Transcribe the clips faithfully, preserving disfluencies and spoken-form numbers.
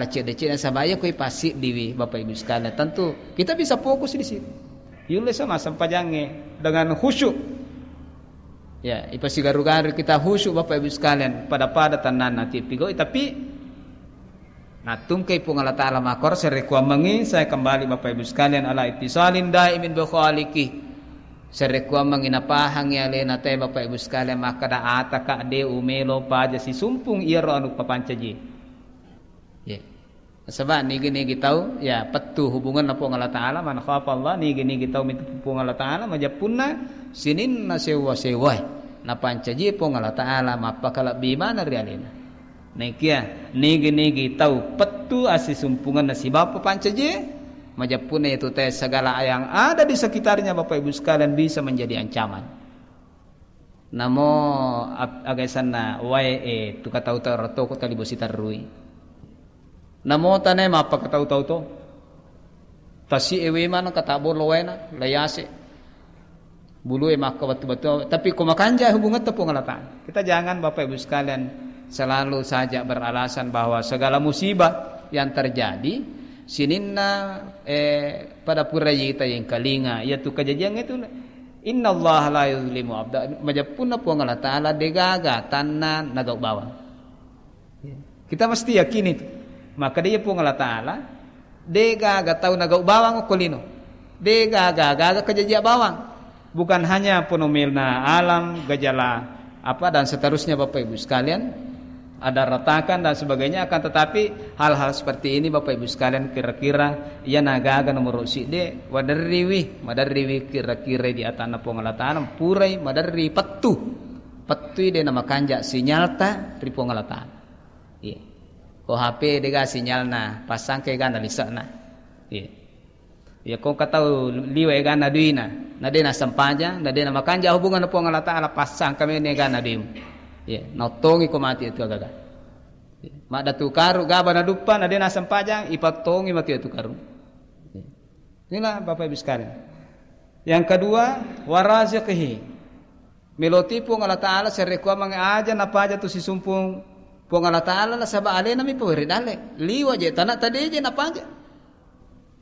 cedde-cedde, nasaba iya ko ipassiddiwi, Bapak Ibu sekalian, tentu kita bisa fokus di situ. Yulle sama sempajangnge dengan khusyuk. Ya, ipasigaru-garu kita khusyuk, Bapak Ibu sekalian, pada-pada tennanna tippigau'i, tapi nattungkai Puang Allah Ta'ala makkoro, serekuammengi saya kembali, Bapak Ibu sekalian, ala ittisalin daimin bi khaliqi. Serekuammengi napahangi alena te, Bapak Ibu sekalian, makkada ataka de umelo paja sisumpung iyaro anu papancaji. Ya. Nasaba nigi-nigi tau, ya, pettu hubunganna Puang Allah Ta'ala, man khafa Allah, nigi-nigi tau mitu Puang Allah Ta'ala, majeppunna sininna sewwa-sewwae napancaji Puang Allah Ta'ala, mappakalebbi maneng ri alena. Naikia nigi-nigi tau pettu assisumpungenna sibawa papancajie, majeppunna itu te segala yang ada di sekitarnya, Bapak Ibu sekalian, bisa menjadi ancaman. Namo ap-, aga asenna wae, eh, tu katau-tau rotoko tali bosi terrui. Namo tane mappa katau-tau to. Tasi ewe mana kata bolo waena, layase. Bulu e makka batu-batu, tapi ko makanja hubungan te Puang Allah Ta'ala. Kita jangan, Bapak Ibu sekalian, selalu saja beralasan bahwa segala musibah yang terjadi sininna, eh, pada pura yita yang kalinga, yaitu kejadian itu, innallaha la yuzlimu abda, majeppunna Puang Allah Ta'ala degaga tanna nagau bawang. Kita mesti yakini itu. Maka dia Puang Allah Ta'ala, degaga tau nagau bawang ko lino. Degaga gaga kejajia bawang. Bukan hanya fenomena alam, gejala apa dan seterusnya, Bapak Ibu sekalian, ada retakan dan sebagainya, akan tetapi hal-hal seperti ini, Bapak Ibu sekalian, kira-kira iya nagaga nomor sidde, waderriwi, maderriwi kira-kira di atanna Puang Allah Ta'ala, purai maderri pettu. Pettui de namakanja sinyalta ri Puang Allah Ta'ala. Iya. Ko H P dega sinyalna, passangka egana lise'na. Iya. Iya, ko engka tau liwe egana duina, na de nasempajang, na de namakanja hubungan Puang Allah Ta'ala, passangka mene egana duimu. Iya, naottongi ko mati itu agaga. Iya. Maddatu karu gaba naduppa, na de nasempajang, ipattongi mati itu karu. Iya. Inilah Bapak Ibu sekalian. Yang kedua, waraziqihi. Meloti Puang Allah Ta'ala, serekuamang aja napaja tu sisumpung Puang Allah Ta'ala, nasaba alena mi pawere dalle. Liwa je, tanah tadi je napaja.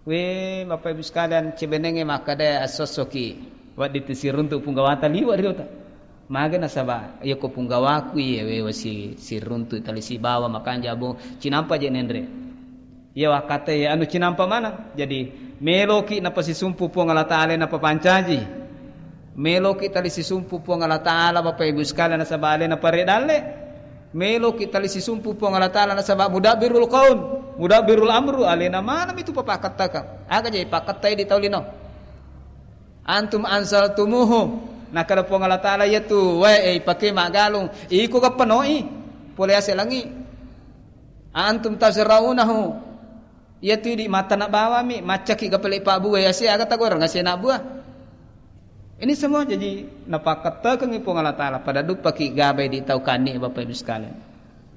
We, Bapak Ibu sekalian, cebenenge makkada assossoki. Waddi tu siruntu punggawata liwa riota. Maga nasaba, iya ko punggawaku iya we wasi siruntu tali sibawa makanja bong, cinampa je nenre. Iya wakkatai anu cinampa maneng. Jadi, meloki napasisumpu Puang Allah Ta'ala napapancaji. Meloki tali sisumpu Puang Allah Ta'ala, Bapak Ibu sekalian, nasaba alena pare dalle. Meloki tali sisumpu Puang Allah Ta'ala nasaba mudabbirul qaum, mudabbirul amru, alena maneng itu papakkattaka. Aga je pakkattai di tau lino. Antum anzaltumuhu. Nakada Puang Allah Ta'ala, iya tu wae, eh, ipake maggalung. Iko ga penoi. Pole ase langi. Antum tazra'unahu. Iya tu di matana bawami, maccaki ga pale pabbuai ase aga tagoreng ase na buah. Ini semua jadi napakkattakengi Puang Allah Ta'ala pada duppaki gabai di tau kani, Bapak Ibu sekalian.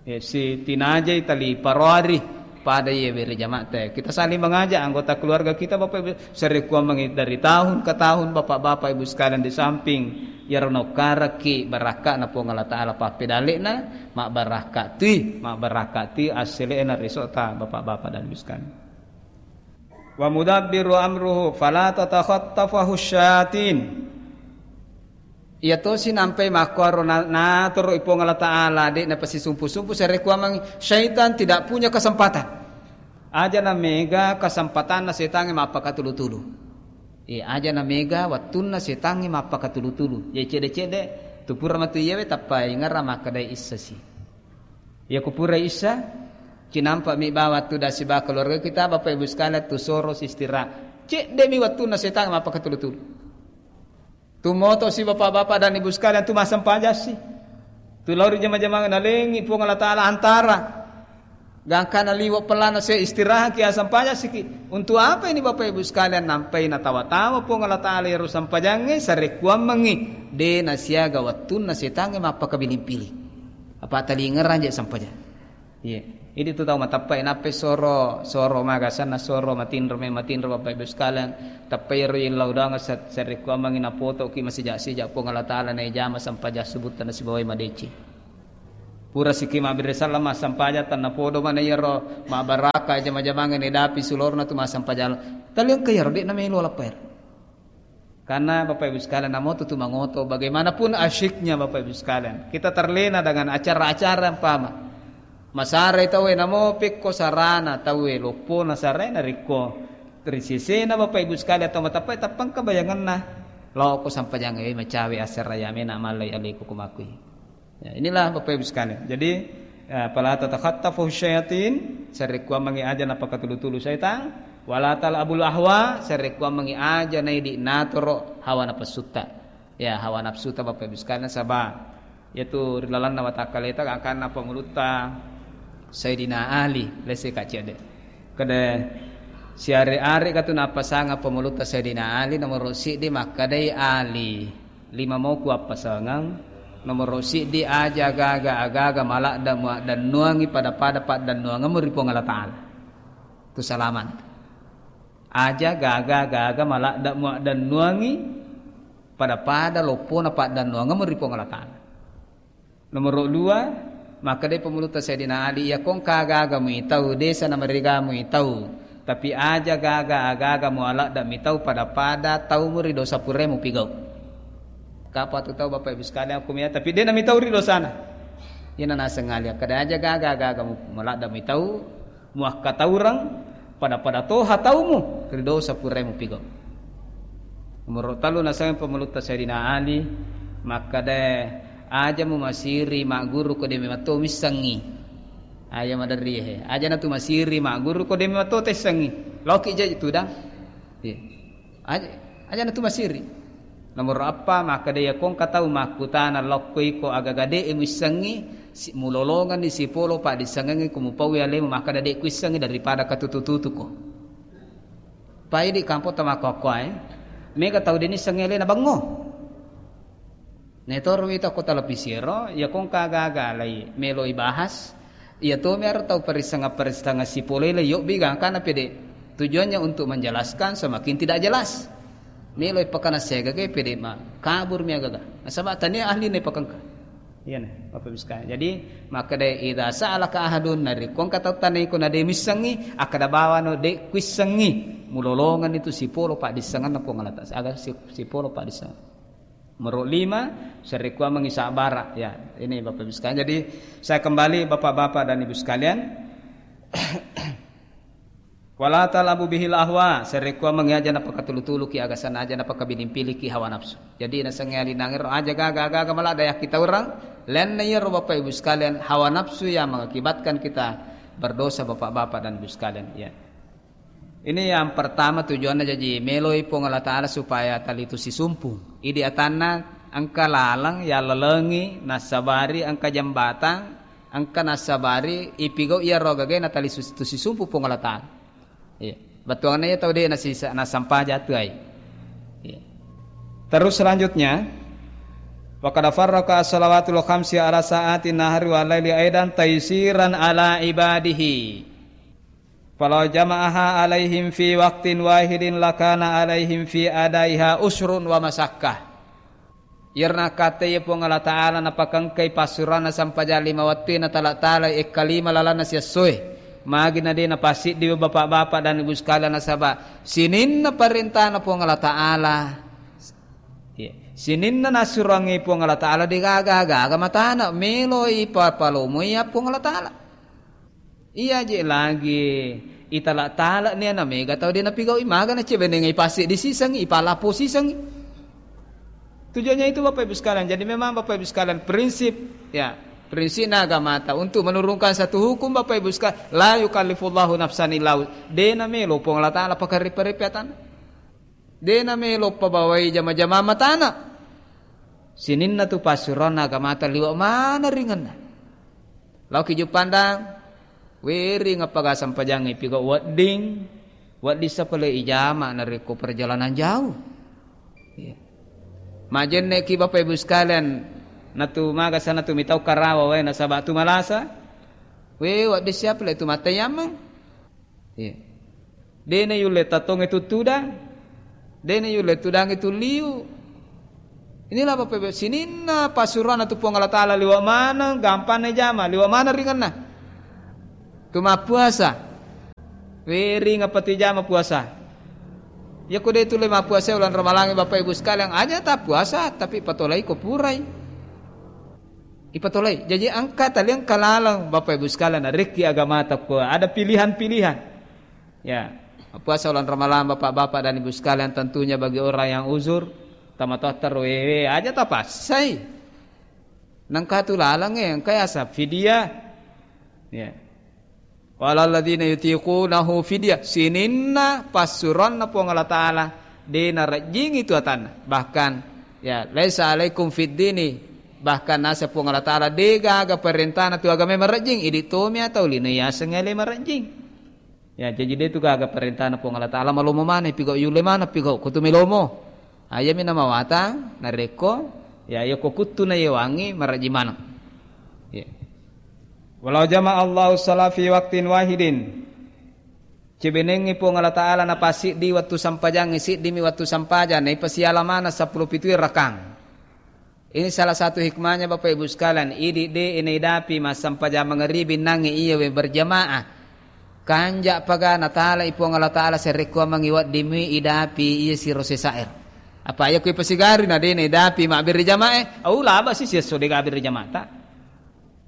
Ya, si tinajai tali paroari pada ye bere jamaah te. Kita saling mengajak anggota keluarga kita, Bapak Ibu, serekuammengi dari tahun ke tahun, Bapak-bapak Ibu sekalian, di samping iyaro nokkaraki barakka'na Puang Allah Ta'ala pappedalle'na, mabbarakka tui, mabbarakka tui assele'na resota Bapak-bapak dan Ibu sekalian. Wa mudabbiru amruhu fala tatakhattafahu syayatin. Iya tosi nampai makkuaro na-, natoro i Puang Allah Ta'ala, de' napasisumpu-sumpu, serekuamang syaitan tidak punya kesempatan. Aja na mega kesempatanna setangnge mappakatulu-tulu. Iya, aja na mega wattunna setangnge mappakatulu-tulu. Iya, cede-cede, tu pura matu iyawe tappa ingara makkadai issasi. Iya, ku pura issa, cinampa mi bawa tu dasi ba keluarga kita, Bapak Ibu sekalian, tu soro sistirahat. Cedde mi wattunna setangnge mappakatulu-tulu. Tu moto si bapak-bapak dan ibu sekalian tu massempajang si. Tu lao ri jama-jamang nalengi Puang Allah Ta'ala antara. Gangkana liwa pelana se istirahat ki asempajang siki. Untuk apa ini Bapak Ibu sekalian? Nampai natawa-tawa Puang Allah Ta'ala ero sempajangnge sarekuammengi. De nasiaga wattunna setangnge mappakabiling-piling. Apa talingerang je sempajang. Iya. Idi tu tau mateppai nappai soro, soro magasanna soro matinro me matinro Bapak Ibu sekalian. Teppai ro illau doang sa-, sarekkuammengi napotoki masija-sija Puang Allah Ta'ala naijama sempajang subutta nasibawai madeceng. Pura sikki mabbere sallang massampajang, tennapodo mana iyaro mabbaraka jama-jamangnge nedapi sulorna tu massampajang. Tali engka iyaro, de'na melo lappaer. Karena Bapak Ibu sekalian, namo tu, tu mangoto, bagaimanapun asyiknya Bapak Ibu sekalian, kita terlena dengan acara-acara, umpama. Masarai tauwe, namo pekko sarana tauwe, loppona sarai, narekko ri sesena Bapak Ibu sekalian, atau matappai, tappangka bayanganna, lao ko sampajangnge, macawe asseraya mena mallai aleku kumakui. Ya, inilah Bapak Ibu sekalian. Jadi, eh, fala tatakhattafu syayatin, sarekkuammengi aja napakatulu-tulu saitang, wala tal'abul ahwa, sarekkuammengi aja naidi natoro hawa napasutta. Ya, hawa nafsuta Bapak Ibu sekalian, saba yaitu ri lalanna watakkaleta, gangkanna pemulutta Sayyidina Ali, lese ka cede. Kede siare-are katu nappasanga pemulutta Sayyidina Ali, nomoro siddi makkadai Ali. Lima moku appasangeng, nomoro siddi aja gaga-agaga maladda muaddannuangi pada-pada paddannuangemmu ri Puang Allah Ta'ala. Tu salaman. Aja gaga-agaga maladda muaddannuangi pada-pada loppona paddannuangemmu ri Puang Allah Ta'ala. Nomoro dua, makkeda pemulutta Sayyidina Ali, iya kongka gaga muitau, desa na mariga muitau, tapi aja gaga-agaga mualadda mitau pada-pada taumu ri dosa purae mupigau. Kapatu tau Bapak Ibu sekalian, aku mia, tapi de namitau ri dosana. Iyana naseng Ali, kada aja gaga-agaga mu-, mualadda mitau, muakkataureng, pada-pada toha taumu ri dosa purae mupigau. Nomoro tellu naseng pemulutta Sayyidina Ali, makkeda, aja mu masiri magguru ko de mematto missengi. Aja maderri he. Aja natu masiri magguru ko de mematto tessengi. Loki jaji tudang. Iya. Aja, aja natu masiri. Nomoro appa, makkeda iya kongka tau makkutana lokko iko agaga de muissengi, si-, mulolongenni sipolo paddissengengi ko mupaui alemu makkeda de kuissengi daripada katutu-tutuko. Pai di kampong tama kokkoe, mega tau de nissengi alena bengo. Netoro wita ko televisi ero, iya kongka gaga lai meloi bahas, iya tomi aro tau perissanga-perissanga sipolo le yobbi gangkana pede. Tujuannya untuk menjelaskan, semakin tidak jelas. Meloi pakana siaga ge pede ma kabur mi agaga. Nasaba tania ahli ne pakengka. Iya ne, Bapak Ibu sekalian. Jadi, makkeda idza sa'alaka ahadun, narekko engka tau tanai ko na de missengi, akkeda bawano de kuissengi. Mulolongan itu sipolo paddissenganna Puang Allah Ta'ala. Aga si-, sipolo paddissengan. Nomoro lima, sarekkuammengi sabbara. Ya, ini Bapak Ibu sekalian. Jadi, saya kembali Bapak-bapak dan Ibu sekalian. Wala tal'abu bihil ahwa, sarekkuammengi aja napakatulu-tuluki, agasan aja napakabiling-piliki hawa nafsu. Jadi, nasengnge alinangero aja gaga-gaga maladda yakkitaureng, lainna iyaro Bapak Ibu sekalian, hawa nafsu yang mengakibatkan kita berdosa Bapak-bapak dan Ibu sekalian. Ya. Ini yang pertama tujuanna jaji meloi Puang Allah Ta'ala supaya tali tu sisumpung. Idi atanna engka laleng yallalengi nassabari engka jembatang, engka nassabari ipigau iyaro gagae natali sus-, tu sisumpu Puang Allah Ta'ala. Iya. Bettuanna iya tau de nasisa-, nasampaja tu ai. Iya. Terus selanjutnya, wa qad farraqa as-salawatul khamsi ala sa'atin nahari wal laili aidan taisiran ala ibadihi. Falau jama'aha alaihim fi waqtin wahidin lakana alaihim fi adaiha usrun wa masakkah. Iyarna katte iya Puang Allah Ta'ala napakengkai passuranna sampajang lima wettu na tala-tala ekkalima lalanna siessoe. Magi na de napasiddi bapak-bapak dan ibu sekalian nasaba sininna parentana Puang Allah Ta'ala. Iya. Sininna nassurangi Puang Allah Ta'ala de gaga-gaga matana meloi papalomoi ya Puang Allah Ta'ala. Iya je lagi itala-tala nia na mega tau de napigaui maga na cebenengai pasi di sisengi, ipalapo sisengi. Tujuannya itu Bapak Ibu sekalian. Jadi memang Bapak Ibu sekalian prinsip, ya, prinsipna agamata untuk menurunkan satu hukum Bapak Ibu sekalian, la yukallifullahu nafsan illa wus-, de na melo Puang Allah Ta'ala pakarripa-ripa atanna. De na melo pabawai jama-jama matana. Sininna tu passuranna agamata liwa mana ringanna. Laoki Juppandang, wering appaga sampajangnge piga wedding, wedding sapale ijama narekko perjalanan jauh. Iya. Majenneki Bapak Ibu sekalian, natu magasa natu mitau karawa wae nasaba tu malasa. We, wedding siapa le tu matayammang? Iya. De na yulle tatonge tu tudang. De na yulle tudange tu liu. Inilah Bapak Ibu, sininna passuroanna tu Puang Allah Ta'ala liwa maneng, gampang na jama, liwa maneng ringanna. Tu mappuasa. Wering apa tu jama puasa. Ya ko de tu le mappuasa ulang Ramalang Bapak Ibu sekalian, aja tak puasa, tapi patolai ko purai. Ipatolai. Jadi engka tali engka laleng Bapak Ibu sekalian, rekki agamata ko ada pilihan-pilihan. Ya, puasa ulang Ramalang Bapak-bapak dan Ibu sekalian tentunya bagi orang yang uzur, tamatoatta wewe aja tapassai. Nengka tu laleng e, engka yasa fidyah. Ya. Walalladzina yutiqunahu fidyah. Sininna passuroanna Puang Allah Ta'ala, de narejjingi tu atanna. Bahkan, ya, laisa alaikum fid dini. Bahkan nasa Puang Allah Ta'ala, de gaga perintana tu agama marejjing. Idi tomi atau lino yaseng ele marejjing. Ya, jaji de tu gaga perintana Puang Allah Ta'ala, malomo mana, pigau yule mana, pigau kutu melomo. Ayami namawatang, narekko, ya, yoko kuttu na yewangi, marejjing maneng. Ya. Walau jama Allahu shala fi waqtin wahidin. Cebenengngi Puang Allah Ta'ala napasiddi wettu sampajangnge, siddimi wettu sampajang, naipasiala maneng seppulo pitu rakang. Ini salah satu hikmahnya Bapak Ibu sekalian, idi de inaidapi massempajang mangeribi nangnge iya we berjamaah. Kanja paga natalai Puang Allah Ta'ala serekkuammengngi weddimmi idapi iya siro sesair. Apa iya kui pasigari na de naidapi mabbere jamaah, au laba si siesso de gabbere jamaah ta.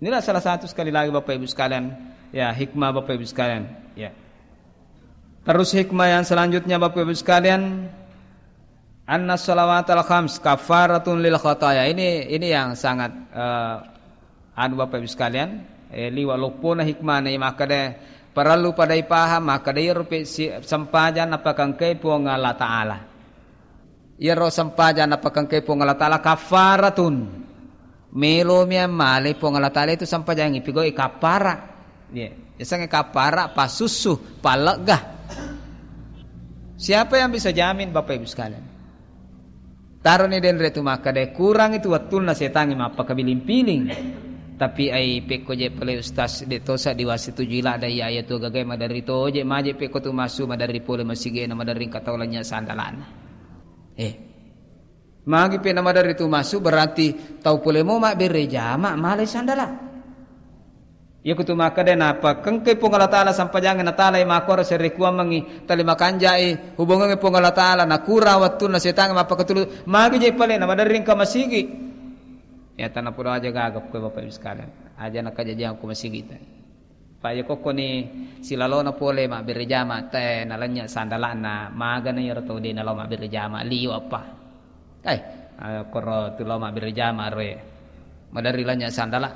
Inilah salah satu sekali lagi Bapak Ibu sekalian, ya, hikmah Bapak Ibu sekalian, ya. Terus hikmah yang selanjutnya Bapak Ibu sekalian, anna salawatal khams kafaratun lil khataya. Ini ini yang sangat eh, anu Bapak Ibu sekalian, eh, liwa loppona hikmah na maka de perlu pada ipaham maka de rupi si, sempajang napakengkai Puang Allah Ta'ala. Iyaro sempajang napakengkai Puang Allah Ta'ala kaffaratun. Melomi ammale Puang Allah Ta'ala itu sempajangi pigau kaffara. Iya, yasengnge kaffara pasussu, pallegga. Siapa yang bisa jamin Bapak Ibu sekalian? Taroni denre tu makkeda kurang itu wettunna setangnge mappakabiling-piling. Tapi ai pekko je pale ustaz de tosa diwasi tuju ila dai ayat tu gagai maderri toje maje pekko tu massu maderri pole masigena maderri engka tau lanya sandalana. Eh. Magi pe namaderri tu massu, berarti tau pole mo mabbere jama, malai sandala. Iya kutu makkeda napakengkai Puang Allah Ta'ala sampajangnge natalai makkoro serekuammengngi tali makanjai hubungangnge Puang Allah Ta'ala, nakurang wettunna setangnge mappakatulu, magi je pale namaderri engka masigi. Ya, tanapodo aja gaga ko Bapak Ibu sekalian. Aja nakajajiang ko masigi ta. Pa iya kokkoni silalona pole mabbere jama te nalennye sandala'na, magana iyaro tau de nalao mabbere jama, liwa pa. Eh, eh, koro tu lao mabbere jama roe. Maderri lennye sandala.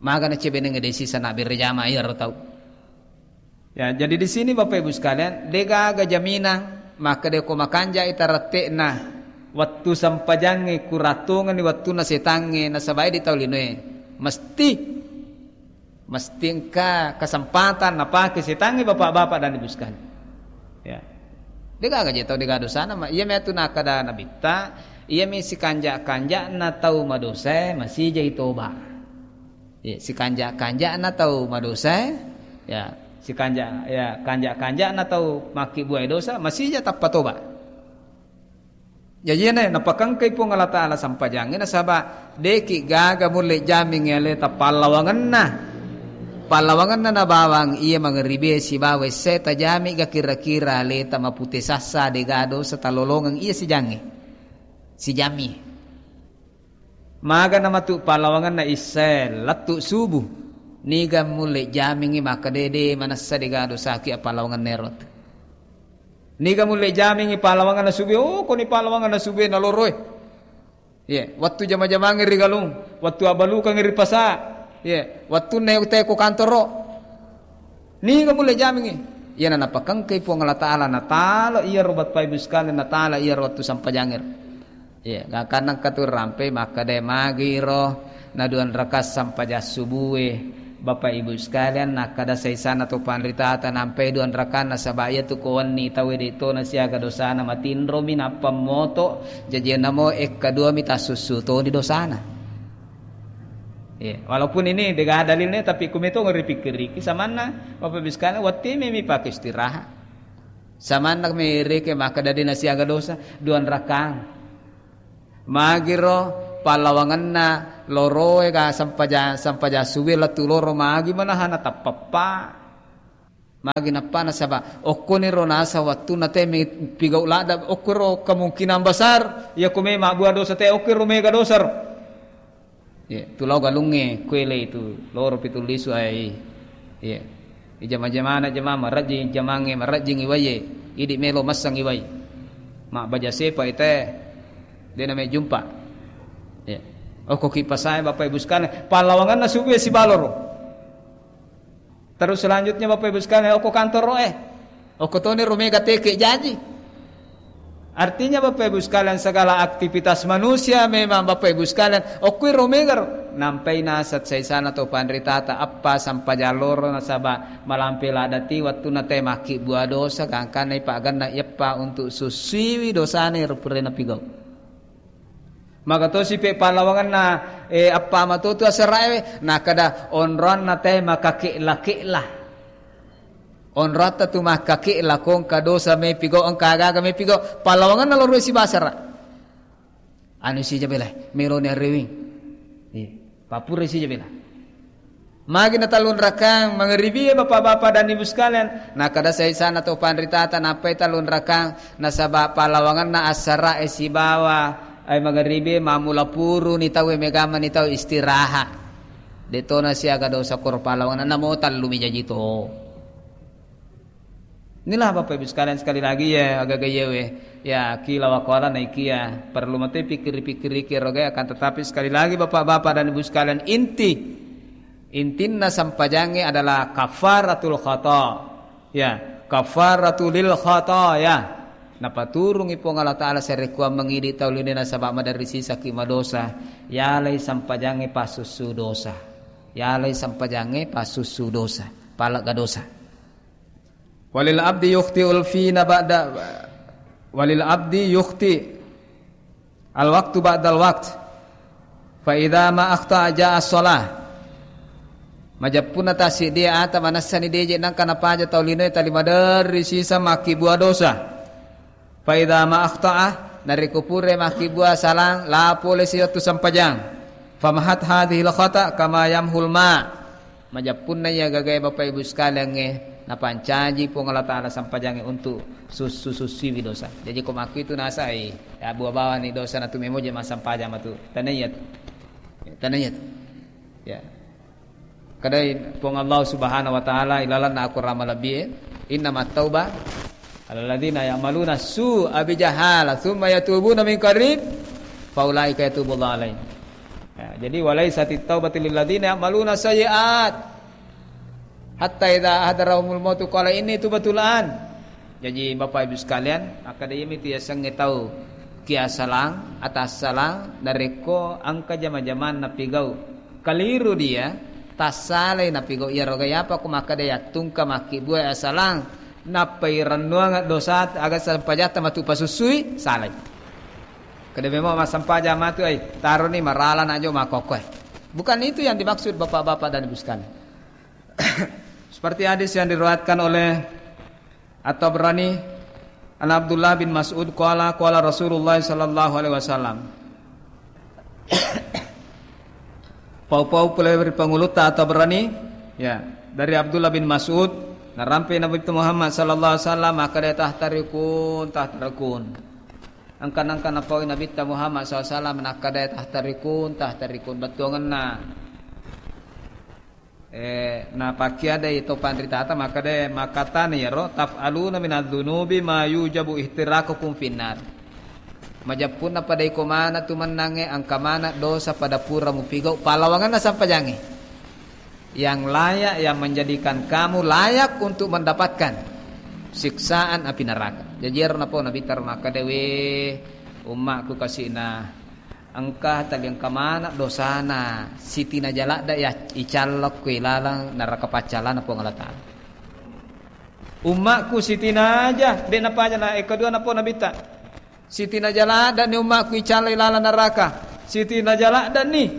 Magana cebenengnge de sisa nabbere jama iyaro tau. Ya, jadi di sini Bapak Ibu sekalian, de gaga jaminan makkeda ko makanjai tarette'na wettu sempajangnge kurattongenni wettunna setangnge nasaba idi tau linoe. Mesti Mesti engka kesempatan napake setangnge bapak-bapak dan ibu sekalian. Ya. Degaga je tau dega dosana, ma-, iya metu nakkeda nabitta, iya mi sikanja-kanjana tau madosae masijai toba. Ya, sikanja-kanjana tau madosae, ya, sikanja-, ya, kanja-kanjana tau makkibbuae dosa masija tappa toba. Jaji iyana napakengkai Puang Allah Ta'ala sampajangnge nasaba deki gaga mulle jamingngi aleta pallawangenna. Pallawangenna nabawang iya mangeribe sibawa essae tajami ga kira-kira aleta mapute sassa dega dosa talolongeng iya sijangnge. Sijami. Magana matu pallawangenna issae lettu subuh. Niga mulle jamingngi makkeda de manessa dega dosaki appallawangenna ero. Niga mulle jamingngi pallawangenna subue, oh, koni pallawangenna subue naloroe. Ye, wettu jama-jamangngi ri galung, wettu abbalukangngi ri pasa. Ye, wettunna teko kantoro. Niga mulle jamingngi? Iyana napakengkai Puang Allah Ta'ala, natala iyaro bapak ibu sekalian, natala iyaro wettu sampajangnge. Iya, gangkanna engka tu rampe makkeda magiro na duan rakaat sampajang subue. Bapak Ibu sekalian, nakkeda saisana to panritata nampai duan rakaat nasaba iyatu ko wenni tauwe de to nasiaga dosana matinromi nappa moto jaji namo ekka duami tassussu toni dosana. Iya, walaupun ini dega dalilnya tapi kumeto ripikkiriki samanna Bapak Ibu sekalian wettu memi pake istirahat. Samanna mereke makkeda de nasiaga dosa duan rakaat. Magiro pallawangenna loroe ga sempaja-, sempajang subuh lettu loro, magi manahana tappappa. Magi nappa nasaba okkoniro nasa wettunna te mepigau ladda, okkoro kemungkinan besar, iya ko me mabbua dosa te, okkoro mega dosa ro. Iya, tu lao galungnge, kuele itu, loro pitu lisu ai. Iya. Ijama-jamana jama, marajing jamangnge, marajing iwaie. Idi melo massang iwai. Mabbaja sepa ite, de name jumpa. Iya. Okko kipasae Bapak Ibu sekalian, pallawangenna subuh sibaloro. Terus selanjutnya Bapak Ibu sekalian, okko kantoro e. Okko toni ro mega teke jaji. Artinya Bapak Ibu sekalian, segala aktivitas manusia memang Bapak Ibu sekalian, okko ro mega ro. Nampai nasat saisana to panritata, appa sampajang loro nasaba malampe ladati wettunna te makkibua dosa, gangkanna ipaganna iyappa untuk sussiwi dosane ro purena pigau. Maga tosi pe pallawangenna, eh, appa matotu aserae, nakada onroanna te makakela-kela. Onroatta tu makkakela, ko engka dosa mepigau, engka agaga mepigau, pallawangenna loro sibasara. Anu sija bela, meloni arewing. Iya, papura sija bela. Magi na tallunrakang mangeribie, Bapak-bapak dan Ibu sekalian, nakada saisana to panritata nappai tallunrakang, nasaba pallawangenna assarae sibawa ai mangeribie, mamula puruni tauwe, megamani tau istirahat. Detona siaga dosa koro pallawangenna, namo tallumi jaji to. Inilah Bapak Ibu sekalian, sekali lagi ya, agaga yewe. Ya, kila wa qala naikia. Perlu mate pikir-pikir iki roga, akan tetapi sekali lagi Bapak-bapak dan Ibu sekalian, inti, intinna sampajangnge adalah kafaratul khata. Ya, kafaratul lil khata ya. Napaturungi Puang Allah Ta'ala sarekkuang mangidi tau lino nasaba maderri sisaki madosa. Yalai sampajangnge pasussu dosa. Yalai sampajangnge pasussu dosa. Palegga dosa. Walil abdi yukhti'ul fina ba'da, walil abdi yukhti al waktu ba'dal wakt. Fa idza ma akhta ja'a shalah. Majeppunna tassiddi ata manessani deje nangka napaja tau linoe tali maderri sisa makkibua dosa. Fa idza ma akhta'a, narekko pura makkibua salang, la pole siwettu sampajang. Famahat hadzihil khata kama yamhul ma. Majeppunna iya gagae Bapak Ibu sekaliangnge, napancaji Puang Allah Ta'ala sampajangnge untuk sussu-sussuiwi dosa. Jaji ko makkuitu nasai, ya, bua bawani dosa natu memoje massampajang matu. Tanaiya tu. Tanaiya tu. Ya. Kadai Puang Allah Subhanahu wa Ta'ala ilalanna Akorang malebbie, "Innamat tauba alalladzina ya'maluna su'a bijahala tsumma yatubuna min qarib faulaika yatubullahu alaihim." Ya, jadi, "Walaisatit taubatu lilladzina ya'maluna sayyi'at hatta idza hadarahumul mautu qala inni tubtu al'an." Jaji, Bapak Ibu sekalian, akkeda iyami tu yasengnge tau kiasalang, atassalang, narekko engka jama-jamanna pigau kaliru dia, tassalai napigau iyaroga, iyapa ko makkeda yattungka makkibua asalang, nappa irennuang dosa aga sempajatta matu pasussui, salai. Keda memang massempajang matu ai, taroni marala najo makkokkoe. Bukan itu yang dimaksud Bapak-bapak dan Ibu sekalian. Seperti hadis yang diriwayatkan oleh At-Tabrani, an Abdullah bin Mas'ud qala, qala Rasulullah sallallahu alaihi wasallam. Pau-pau pole ri pangulutta At-Tabrani, ya, dari Abdullah bin Mas'ud, narampe Nabitta Muhammad sallallahu alaihi wasallam, makkeda, "Tahtarikun, tahtarikun." Engka-, engka napaui Nabitta Muhammad sallallahu alaihi wasallam, nakkeda, "Tahtarikun, tahtarikun." Bettuangenna. Eh, napakkiadai to panritata makkeda, makkatana iyaro, "Taf'aluna minadz-dzunubi ma yujabu ihtiraqukum finnar." Majeppunna pada iko maneng tu mennangnge, engka maneng dosa pada pura mupigau pallawangenna sampajangnge. Yang layak, yang menjadikan kamu layak untuk mendapatkan siksaan api neraka. Jaji iyaro napau Nabitta makkeda, "We, ummakku kasi'na." Engka tali engka maneng dosana, sitinaja ladde ya icallokko ilalang neraka paccalana Puang Allah Ta'ala. Ummakku sitinaja, de napaja na, eh, kedua napau Nabitta. Sitinaja ladde ni ummakku icalla ilalang neraka. Sitinaja ladde ni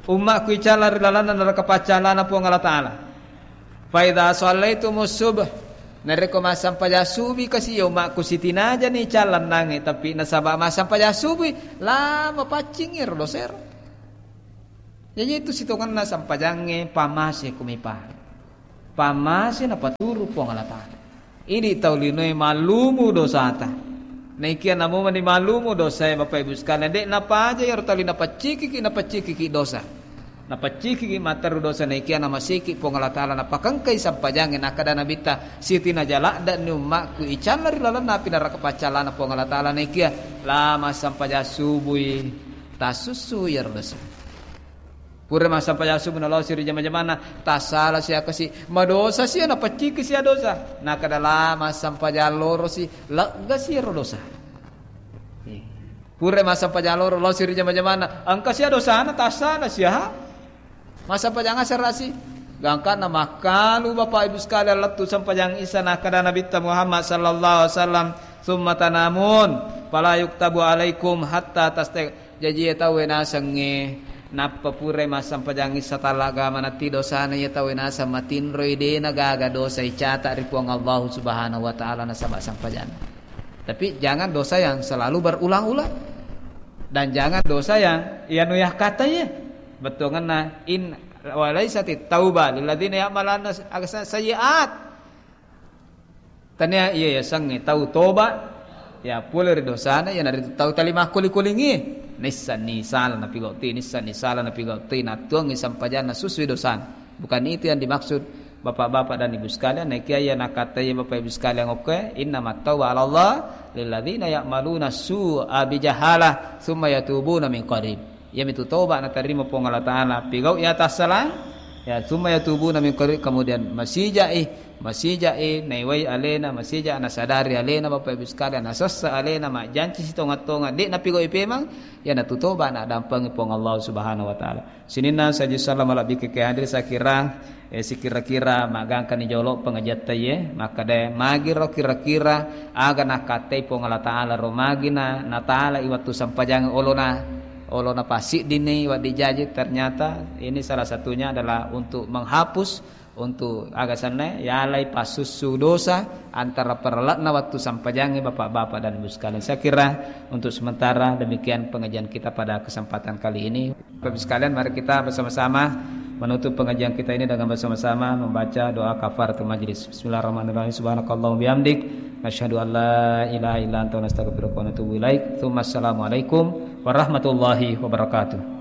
ummakku icalla ri lalanna neraka paccalana Puang Allah Ta'ala. Fa idza shallaitumus subh, Narekko massempajang subuh kasi, ya umakku, sitinajani callannangnge, tapi nasaba massempajang subuh, la mapaccingi ro dosa ero. Jaji itu sitongenna sempajangnge pamase kumipa. Pamase napaturu Puang Allah Ta'ala. Idi tau linoe mallumu dosata. Naikia namo mani mallumu dosae, Bapak Ibu sekalian, de napaja iyaro tali napaccikiki, napaccikiki dosa. Napaccikiki matteru dosa, naikia namasiki Puang Allah Ta'ala, napakengkai sempajangnge, nakkeda Nabitta, sitinaja ladde'ni ummakku icalla ri lalenna api neraka paccallana Puang Allah Ta'ala, naikia la massempajang subui tasussu iyaro dosa. Pura massempajang subuh nalosi ri jama-jamanna, tassala sia kasi, madosa sia, napacciki sia dosa. Nakkeda la massempajang lorosi, leggasi ro dosa. Eh. Pura massempajang loro, losi ri jama-jamanna, engka sia dosana, tassala sia. Massempajang asarasi. Gangkanna makkalu Bapak Ibu sekalian lettu sempajang Isa, nakkeda Nabitta Muhammad sallallahu alaihi wasallam, "Tsumma tanamun, fala yuktabu alaikum hatta tastaiq." Jaji, iya tauwe nasengnge nappa purai massempajang Isa tallagama natti dosana, iya tauwe naseng matinroi, de nagaga dosa icata ri Puang Allahu Subhanahu wa Ta'ala nasaba sempajang. Tapi jangan dosa yang selalu berulang-ulang. Dan jangan dosa yang, ya, nu yakkatai, ya. Bettuanna, in, "Wa laisatit tauba lilladzina ya'maluna as-, sayyi'at." Tania iya yasengnge tau toba, ya, pole ri dosana, iyanaritu tau tali makkuli-kulingi. Nissenni sala napigautti, nissenni sala napigautti, nattuangngi sempajanna, susui dosana. Bukan itu yang dimaksud, Bapak-bapak dan Ibu sekalian. Naikia iya nakkatai Bapak Ibu sekalian okkoe, "Innamat tauba 'alallah lilladzina ya'maluna su'a bijahalah tsumma yatubuna min qarib." Iyamitu toba natarima Puang Allah Ta'ala, pigau iya tassalang, ya, tsumma yatubuna min qarib, kemudian masijai, masijai naiwai alena, masija nasadari alena, Bapak Ibu sekalian, nasessa alena, majjanci sitonga-tonga, de napigau ipemang, iyanatu toba nadampengi Puang Allah Subhanahu wa Ta'ala. Sininna saji sallam malebbi ke hadir, saya kira, eh, sikira-kira magangkani jolo pengajiatta iye, makkeda magiro kira-kira aga nakkatai Puang Allah Ta'ala ro, magina natala i wattu sempajang olona, olona pasiddini waddi jaji, ternyata ini salah satunya adalah untuk menghapus, untuk aga senna, yalai pasussu dosa antara parelle'na wattu sempajangnge, Bapak-bapak dan Ibu sekalian. Saya kira untuk sementara demikian pengajian kita pada kesempatan kali ini. Bapak Ibu sekalian, mari kita bersama-sama menutup pengajian kita ini dengan bersama-sama membaca doa kafaratul majlis. Bismillahirrahmanirrahim. Subhanakallahumma bihamdik, nasyhadu an la ilaha illa anta, nastaghfiruka wa natubu ilaik. Tsumma assalamualaikum warahmatullahi wabarakatuh.